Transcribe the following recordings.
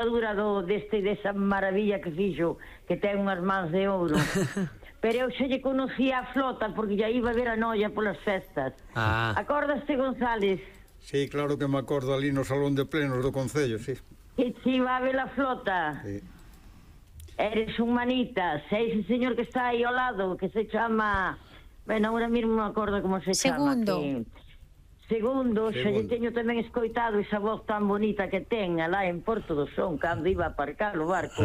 dura desa maravilla que fixo, que ten unhas mans de ouro. Pero eu xa lle conocía a flota porque ya iba a ver a noia polas festas. Acordaste, González? Sí, claro que me acordo ali no salón de plenos do Concello, sí. Que te iba a ver a flota. Sí. Eres un manitas. Ese señor que está aí ao lado, que se chama... Bueno, ahora mismo me acordo como se chama. Segundo, xa lle teño tamén escoitado esa voz tan bonita que ten alá en Porto do Son cando iba a aparcar o barco.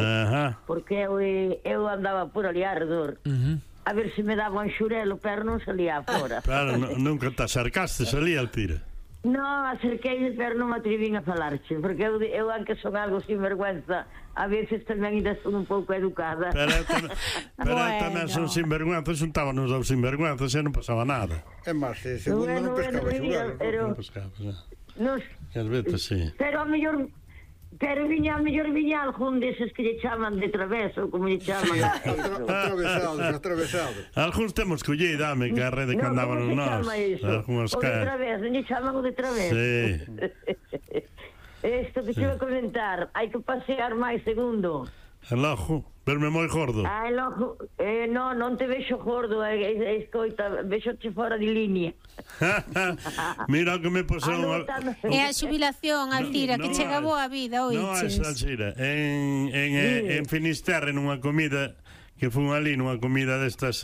Porque eu andaba por ali arredor. A ver se me daba un xurelo, pero non salía fora. Claro, nunca te acercaste, salía Altira. Non, acerquei, pero non me atrevín a falarche, porque eu aunque son algo sinvergüenza, a veces tamén ainda son un pouco educada. Pero tamén son sinvergüenzas, xuntábanos aos sinvergüenzas e non pasaba nada. É máis, segundo non pescaba xurelo. Non pescaba, non. As veces, sí. Pero a mellor viña algún deses que lle chaman de traveso, como lle chaman. Atravesados. Algúns temos collei, dame, que a rede que andaban nós. O de traveso, lle chaman o de traveso. Sí. Isto que te iba a comentar, hai que pasear máis, segundo. El ojo, verme moi gordo. El ojo, non te vexo gordo, escoita, vexoche fora de línea. Mira que me posou... É a xubilación, Altira, que chega boa vida, oiches. Non, Altira, en Finisterre, nunha comida, que fun ali, nunha comida destas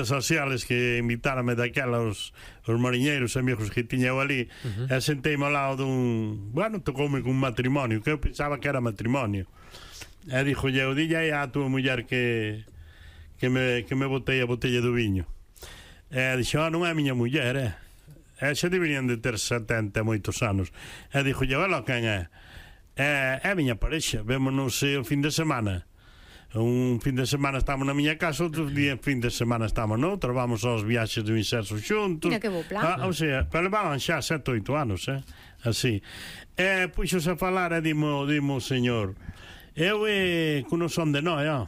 sociales que invitárame daquela os mariñeiros amigos que tiña eu ali, e senteime ao lado dun... Bueno, tocoume cun matrimonio, que eu pensaba que era matrimonio. E dixo eu, dille aí a tua muller que me botei a botella do viño. E dixo, non é a miña muller, e xa deberían de ter 70 moitos anos. E dixo eu, ela quen é? É a miña parexa, vémonos o fin de semana. Un fin de semana estamos na miña casa, outro fin de semana estamos noutra, vamos aos viaxes do inserso xuntos. Mira que bo plan. O sea, pero levaban xa 7 ou 8 anos, así. E puxos a falar e dimo o señor, eu que non son de Noia,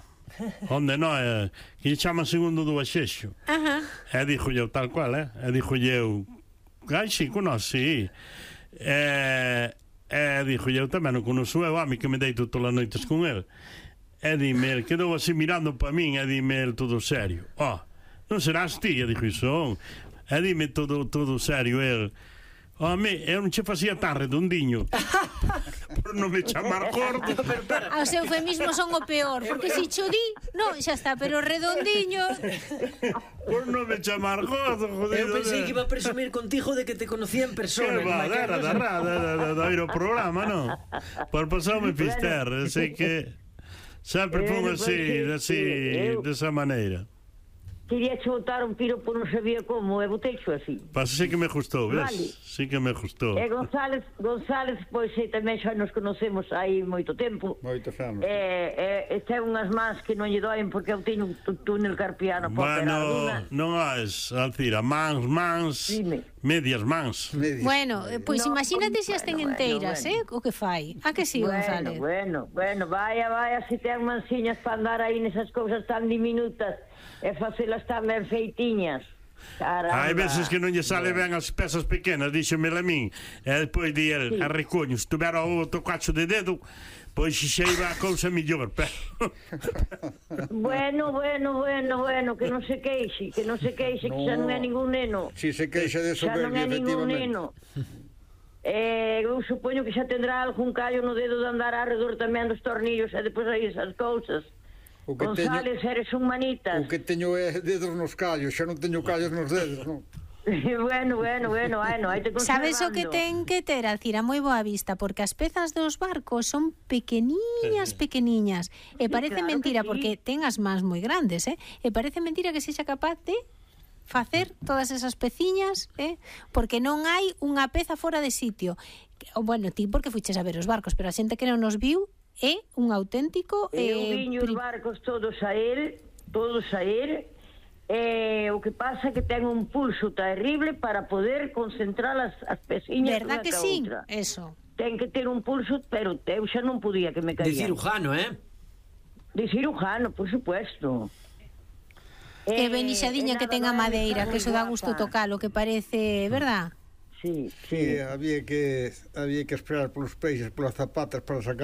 onde Noia, que lle chaman segundo do Axexo. E dixo eu tal cual, e dixo eu, ai, si, conocí. E dixo eu tamén non conoço eu, a mi que me deito todas as noites con el. E dime, quedou así mirando para min, e dime todo serio. Non serás ti, e dixo iso. E dime todo serio, el. Eu non che facía tan redondiño por non me chamar gordo. Os eufemismos son o peor, porque se cho di, non, xa está, pero redondiño por non me chamar gordo, jodido. Eu pensei que iba a presumir contigo de que te conocía en persona. Que va, da ir ao programa, non? Por pasarme Fister, así que sempre fun así, desa maneira. Quería che botar un piropo, non sabía como, e boteixo así. Pasa, sí que me gustou, ves? Vale. Sí que me gustou. E González, pois tamén xa nos conocemos aí moito tempo. Moitos anos. Ten unhas mans que non lle doen porque eu teño un túnel carpiano. Bueno, non es, Alcira, mans, medias mans. Bueno, pois imagínate se as ten enteiras, o que fai. A que sí, González? Bueno, vaya, se ten mansiñas para andar aí nesas cousas tan diminutas e facelas tan ben feitiñas. Hai veces que non lle sale ben as pezas pequenas, díxomela a min, e despois di el, a recoño, se tuvera outro cacho de dedo, pois xa iba a cousa millor. Bueno, que non se queixe, que xa non é ningún neno. Si se queixa de soberbia, efectivamente. Eu supoño que xa tendrá algún callo no dedo de andar alrededor tamén dos tornillos e depois aí esas cousas. González, eres un manitas. O que teño é dedos nos callos, xa non teño callos nos dedos, non? Bueno, aí te conservando. Sabes o que ten que ter, Alcira, moi boa vista, porque as pezas dos barcos son pequeniñas, e parece mentira, porque ten as mans moi grandes, e parece mentira que sexa capaz de facer todas esas peciñas, porque non hai unha peza fora de sitio. Bueno, ti porque fuches a ver os barcos, pero a xente que non nos viu é un auténtico... Eu viño os barcos todos a él, o que pasa é que ten un pulso terrible para poder concentrar as peciñas. Verdad que sí? Eso. Ten que ter un pulso, pero eu xa non podía que me caía. De cirujano, De cirujano, por supuesto. E benixadiña que ten a madeira, que eso dá gusto tocalo, que parece, verdad? Sí, había que esperar polos peixes, polas zapatas para sacar